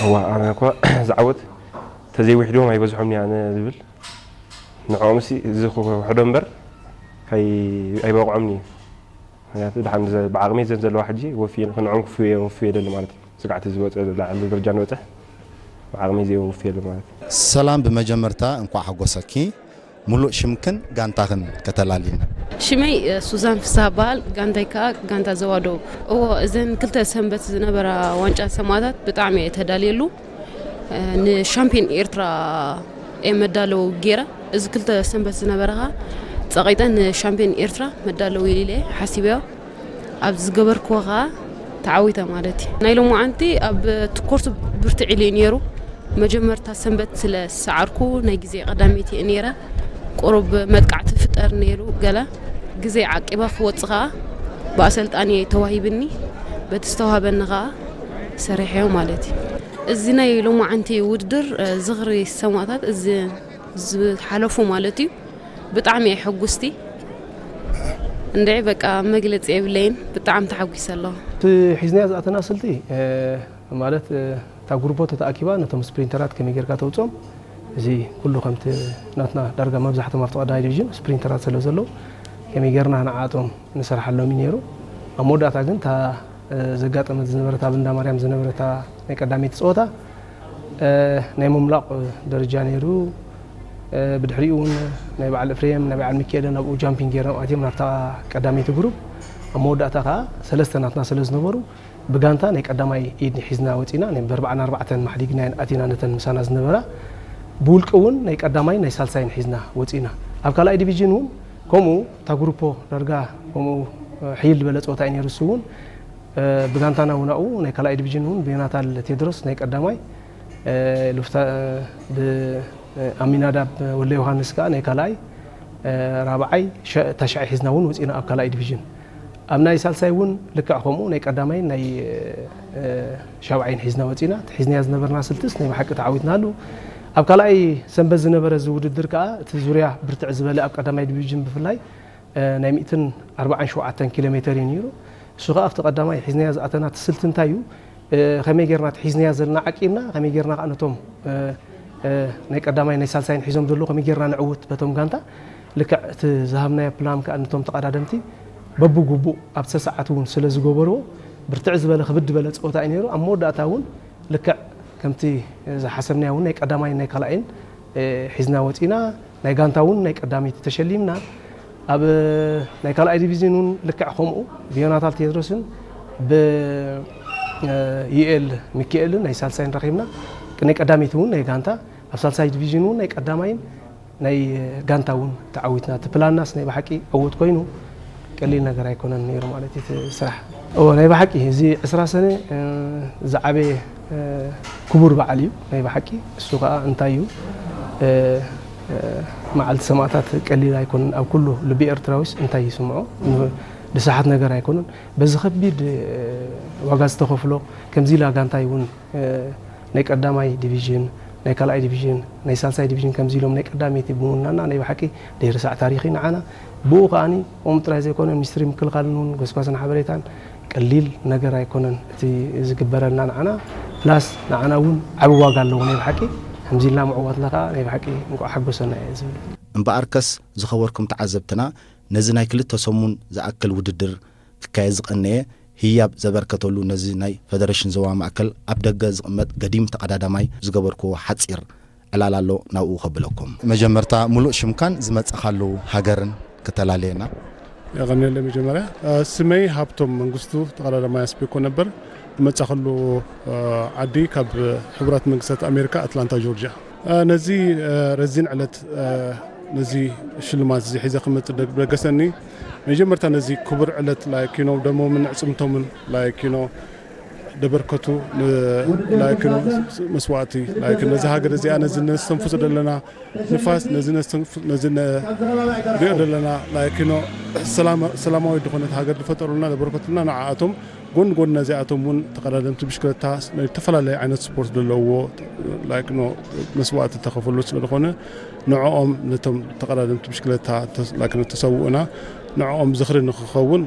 እዋ ኣነ እኳ ዝዓወት ተዘይውሕዶም ኣይበዝሖም ኣነ ዝብል ንዕኦም ሲ እዚ ክውሕዶ እምበር ኣይ- ኣይበቕዖምን እዩ። ምክንያቱ ድሓን ዘ- ብዓቕመይ ዘን ዘለዋ ሕጂ ወፍየ ንዕኦም ክፍየ ወፍየ ደሊ ማለት እዩ። ስጋዕቲ ዝወፀ ላዕሊ ደረጃ ንበፅሕ ብዓቕመይ ዘይ ወፍየ ደሊ ማለት እዩ። ሰላም፣ ብመጀመርታ እንኳዕ ሓጎሰኪ። ሙሉእ ሽምክን ጋንታኽን ከተላልይና። ሽመይ ሱዛን ፍስሃ በሃል። ጋንታይ ከዓ ጋንታ ዘዋደው። እዎ፣ እዘን ክልተ ሰንበት ዝነበራ ዋንጫ ሰማእታት ብጣዕሚ እየ ተዳልየሉ። ንሻምፒዮን ኤርትራ እየ መዳለው ገይረ። እዚ ክልተ ሰንበት ዝነበረ ከዓ ፀቂጠ ንሻምፒዮን ኤርትራ መዳለው ኢለ ሓሲበዮ። ኣብ ዝገበርክዎ ከዓ ተዓዊተ ማለት እዩ። ናይ ሎማዓንቲ ኣብ ትኮርሱ ብርትዕ ኢሉ እዩ ነይሩ። መጀመርታ ሰንበት ስለ ዝሰዓርኩ ናይ ግዜ ቀዳመይቲ እየ ነይረ። ቁሩብ መጥቃዕቲ ፍጠር ነይሩ ገለ ግዜ ዓቂበ ክወፅ ከዓ ብኣሰልጣኒ ተዋሂብኒ። በቲ ዝተዋሃበኒ ከዓ ሰሪሐዮ ማለት እዩ። እዚ ናይ ሎማዓንቲ ውድድር ዝኽሪ ሰማእታት እዚ ዝሓለፉ ማለት እዩ። ብጣዕሚ እየ ሕጉስቲ። እንድዒ በቃ መግለፂ የብለይን። ብጣዕሚ ተሓጒሰ ኣለኹ። እቲ ሒዝናዮ ዝኣተና ስልቲ ማለት እታ ጉሩፖ ተተኣኪባ ነቶም ስፕሪንተራት ከመይ ጌርካ ተውፅኦም፣ እዚ ኩሉ ከምቲ ናትና ዳርጋ መብዛሕቶም ኣብቲ ቀዳማይ ዲቪዥን ስፕሪንተራት ስለ ዘለዉ ከመይ ጌርና ንዓኣቶም ንሰርሓሎም እዩ ነይሩ። ኣብ መወዳእታ ግን እታ ዘጋጠመት ዝነበረት ኣብ እንዳ ማርያም ዝነበረታ ናይ ቀዳመይቲ ፀወታ ናይ ምምላቕ ደረጃ ነይሩ። ብድሕሪኡ እውን ናይ በዓል እፍሬም ናይ በዓል ሚካኤልን ኣብኡ ጃምፒንግ ገይሮም ኣትዮም ናብታ ቀዳመይቲ ግሩፕ። ኣብ መወዳእታ ከዓ ሰለስተ ናትና ስለ ዝነበሩ ብጋንታ ናይ ቀዳማይ ኢድ ሒዝና ወፂና። ናይ ብኣርባዕን ኣርባዕተን ማሕዲግናየን ኣቲና ነተን ምሳና ዝነበራ። ብውልቂ እውን ናይ ቀዳማይ ናይ ሳልሳይን ሒዝና ወፂና። ኣብ ካልኣይ ዲቪዥን እውን ከምኡ እታ ግሩፖ ዳርጋ ከምኡ ሕይል ዝበለ ፀወታ እዩ ነይሩ። እሱ እውን ብጋንታና እውን ኣብኡ ናይ ካልኣይ ዲቪዥን እውን ብዮናታል ቴድሮስ ናይ ቀዳማይ ሉፍታ ብኣሚናዳብ ወለ ዮሃንስ ከዓ ናይ ካልኣይ ራብዓይ ሸ- ታሽዓይ ሒዝና እውን ወፂና ኣብ ካልኣይ ዲቪዥን። ኣብ ናይ ሳልሳይ እውን ልክዕ ከምኡ ናይ ቀዳማይን ናይ ሻብዓይን ሒዝና ወፂና። እቲ ሒዝናያ ዝነበርና ስልትስ ናይ ብሓቂ ተዓዊትናሉ። ኣብ ካልኣይ ሰንበት ዝነበረ እዚ ውድድር ከዓ እቲ ዙርያ ብርትዕ ዝበለ ኣብ ቀዳማይ ዲቪዥን ብፍላይ ናይ ሚእትን ኣርባዓን ሸውዓተን ኪሎ ሜተር እዩ ነይሩ። እሱ ከዓ ኣብቲ ቀዳማይ ሒዝናያ ዝኣተና እቲ ስልቲ እንታይ እዩ? ከመይ ጌርና እቲ ሒዝናያ ዘለና ዓቂብና ከመይ ጌርና ከዓ ነቶም ናይ ቀዳማይ ናይ ሳልሳይን ሒዞም ዘለዉ ከመይ ጌርና ንዕውት በቶም ጋንታ ልክዕ እቲ ዝሃብናዮ ፕላን ከዓ ነቶም ተቐዳደምቲ በብግቡእ ኣብቲ ሰዓት እውን ስለ ዝገበርዎ ብርትዕ ዝበለ ክብድ ዝበለ ፀወታ እዩ ነይሩ። ኣብ መወዳእታ እውን ልክዕ ከምቲ ዝሓሰብናዮ እውን ናይ ቀዳማይን ናይ ካልኣይን ሒዝና ወፂና። ናይ ጋንታ እውን ናይ ቀዳመይቲ ተሸሊምና። ኣብ ናይ ካልኣይ ዲቪዝን እውን ልክዕ ከምኡ ብዮናታል ቴድሮስን ብዩኤል ሚካኤልን ናይ ሳልሳይን ረኺብና። ናይ ቀዳመይቲ እውን ናይ ጋንታ ኣብ ሳልሳይ ዲቪዝን እውን ናይ ቀዳማይን ናይ ጋንታ እውን ተዓዊትና። እቲ ፕላናስ ናይ ብሓቂ ዕውት ኮይኑ ቀሊል ነገር ኣይኮነን ነይሩ ማለት እዩ እቲ ስራሕ። እዎ ናይ ብሓቂ እዚ ዕስራ ሰነ ዝዓበየ ክቡር በዓል እዩ ናይ ብሓቂ። እሱ ከዓ እንታይ እዩ መዓልቲ ሰማእታት ቀሊል ኣይኮነን። ኣብ ኩሉ ልቢ ኤርትራዊስ እንታይ ይስምዖ? ንስሓት ነገር ኣይኮነን። በዚ ከቢድ ዋጋ ዝተኸፍሎ ከምዚ ኢላ ጋንታይ እውን ናይ ቀዳማይ ዲቪዥን ናይ ካልኣይ ዲቪዥን ናይ ሳልሳይ ዲቪዥን ከምዚ ኢሎም ናይ ቀዳመይቲ ብምውናና ናይ ብሓቂ ደይርሳዕ ታሪኽ እዩ ንዓና። ብኡ ከዓኒ ከምኡ ጥራይ ዘይኮነ ሚኒስትሪ ምክልኻልን እውን ጎስጓስን ሓበሬታን ቀሊል ነገር ኣይኮነን እቲ ዝግበረልና ንዓና። ፕላስ ንዓና እውን ዓቢ ዋጋ ኣለዎ ናይ ብሓቂ። ከምዚ ኢልና ምዕዋትና ከዓ ናይ ብሓቂ እንቋዕ ሓጎሰና እየ ዝብል። እምበኣርከስ ዝኸበርኩም ተዓዘብትና ነዚ ናይ ክልተ ሰሙን ዝኣክል ውድድር ክካየድ ዝቐነየ ህያብ ዘበርከተሉ ነዚ ናይ ፈደረሽን ዞባ ማእከል ኣብ ደገ ዝቕመጥ ገዲም ተቐዳዳማይ ዝገበርክዎ ሓጺር ዕላል ኣሎ ናብኡ ከብለኩም። መጀመርታ ሙሉእ ሽምካን ዝመጻኻሉ ሃገርን ክተላለየና። የቐንየለይ። መጀመርያ ስመይ ሃብቶም መንግስቱ ተቐዳዳማይ ኣስቤኮ ነበር። ዝመጻኸሉ ዓዲ ካብ ሕቡራት መንግስታት ኣሜሪካ ኣትላንታ ጆርጅያ። ነዚ ረዚን ዕለት ነዚ ሽልማት እዚ ሒዘ ክመጽእ ደገሰኒ መጀመርታ ነዚ ክቡር ዕለት like you know ደሞምን ዕጽምቶምን like you know ደበርከቱ like you know መስዋእቲ like ነዚ ሃገር እዚኣ ነዚ ነስተንፍሶ ዘለና ንፋስ ነዚ ነስተንፍ ነዚ ንሪኦ ዘለና like you know ሰላማዊ ዝኾነት ሃገር ዝፈጠሩልና ደበርከቱልና ንዓኣቶም ጎን ጎን ነዚኣቶም እውን ተቐዳደምቲ ብሽክለታ ናይ ዝተፈላለዩ ዓይነት ስፖርት ዘለውዎ like you know መስዋእቲ ተኸፈሉ ስለ ዝኾነ ንዕኦም ነቶም ተቐዳደምቲ ብሽክለታ like you know ተሰውኡና ንዕኦም ዝኽሪ ንክኸውን